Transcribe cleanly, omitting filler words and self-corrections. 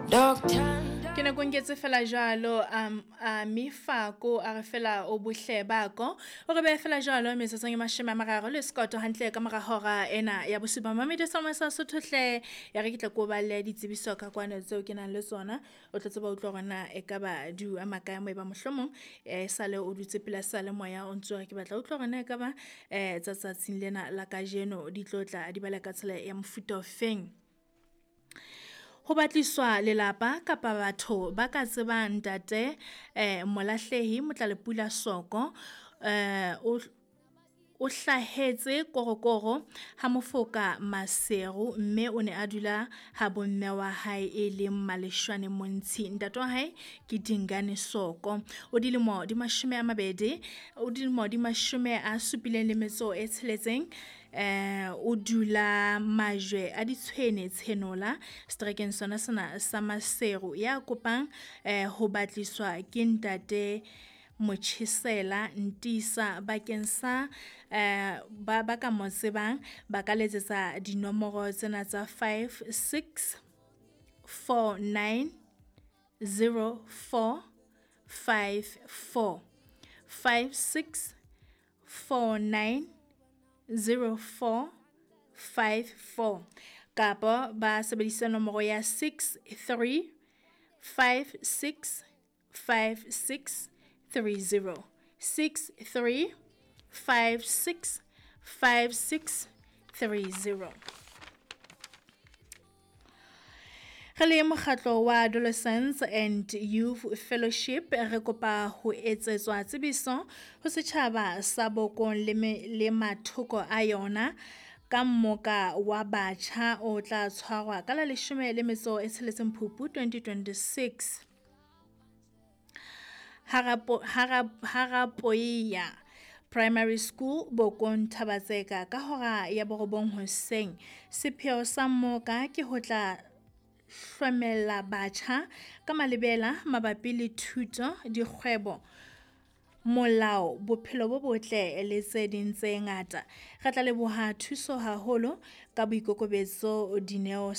Ke ne ko nketse fela jwalo a mefako a re fela o bohle bako o re behe fela jwalo metsotsong e 30 le sekoto hantle ka mora hora ena ya bosupa. Mamedi sa sa Sotho hle, ya re ke tla ko balle ditsebiso ka kwano tseo ke nang le tsona, o tlo tseba utlwa hore na ekaba di o ama kae moo eba mohlomong sale o dutse pela seyalemoya o ntso re ke batla utlwa hore na ekaba tsa tsatsing lena la kajeno di tlo tla di bala ka tsela ya mofuta ofeng. Ho batliswa lelapa kapa batho ba ka tsebang ntate Molahlehi Motlalepula Soko, o hlahetse Korokoro ha Mofoka Maseru, mme o ne a dula ha bomme wa hae e leng Maleshwane Montshi. Ntate wa hae ke Dingane Soko, o dilemo di 20, o dilemo di 76. O dula Majwe a Ditshwene Tshenola seterekeng sona sena sa Maseru. Ya kopang ho batliswa ke ntate Motjhesela Ntisa bakeng sa ba ka mo tsebang ba ka letsetsa dinomoro tsena tsa 5 6 4 9 0 4 5 4, 5 6 4 9 0 4 5 4, kapa ba sebedisa nomoro ya 6 3 5 6 5 6 3 0, 6 3 5 6 5 6 3 0. Re le mokgatlo wa Adolescents and Youth Fellowship re kopa ho etsetswa tsebiso ho setjhaba sa Bokong le mathoko a yona ka mmoka wa batjha o tla tshwarwa ka la 16 Phupu 2026 Harapoia Primary School Bokong Thabatseka ka hora ya 9 hoseng. Sepheo sa mmoka ke ho tla hlomella batjha ka malebela mabapi le thuto, dikgwebo, molao, bophelo bo botle le tse ding tse ngata. Re tla leboha thuso haholo ka boikokobetso Dineo.